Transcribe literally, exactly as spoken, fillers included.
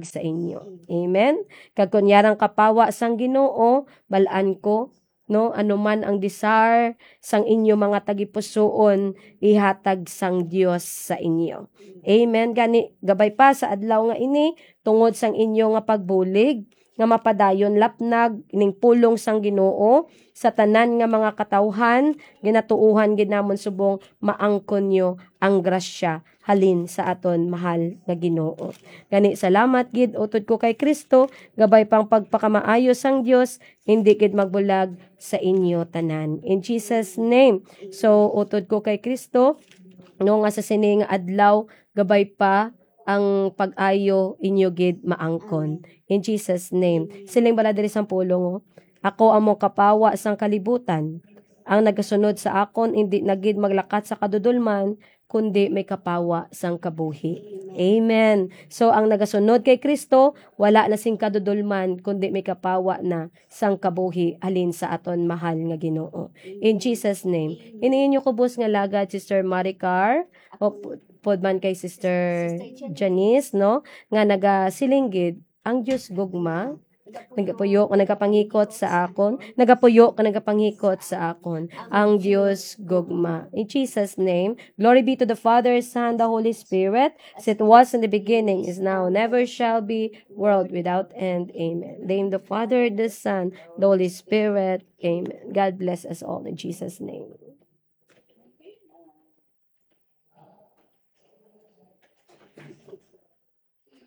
sa inyo. Amen. Kag kon yarang kapawa sang Ginoo, bal-an ko, no, ano man ang desire sang inyo mga tagipusoon, ihatag sang Dios sa inyo. Amen. Gani, gabay pa sa adlaw nga ini, tungod sang inyo nga pagbulig, nga mapadayon lapnag ning pulong sang Ginoo sa tanan nga mga katawhan, ginatuohan gid namon subong maangkon nyo ang grasya halin sa aton mahal nga Ginoo. Gani, salamat gid, utod ko kay Kristo, gabay pang pagpakamaayo sang Dios, hindi gid magbulag sa inyo tanan. In Jesus' name. So, utod ko kay Kristo, no, nga sa sini nga adlaw, gabay pa ang pag-ayo inyo gid maangkon. In Jesus' name. Siling bala diri sang pulong, oh, "Ako amo kapawa sang kalibutan. Ang nagasunod sa akon indi na gid maglakat sa kadudolman, kundi may kapawa sang kabuhi." Amen. So, ang nagasunod kay Kristo, wala na sing kadudolman, kundi may kapawa na sang kabuhi halin sa aton mahal nga Ginoo. In Jesus' name. Ini inyo kubos nga lagad, Sister Maricar, o pu-, pud man kay Sister Janice, no? Nga nagasiling gid, ang Dios gugma, nagapuyo, nagapangikot sa akon, nagapuyo, nagapangikot sa akon, ang Dios gugma. In Jesus' name, glory be to the Father, Son, the Holy Spirit, as it was in the beginning, is now, never shall be, world without end. Amen. Name the Father, the Son, the Holy Spirit. Amen. God bless us all in Jesus' name.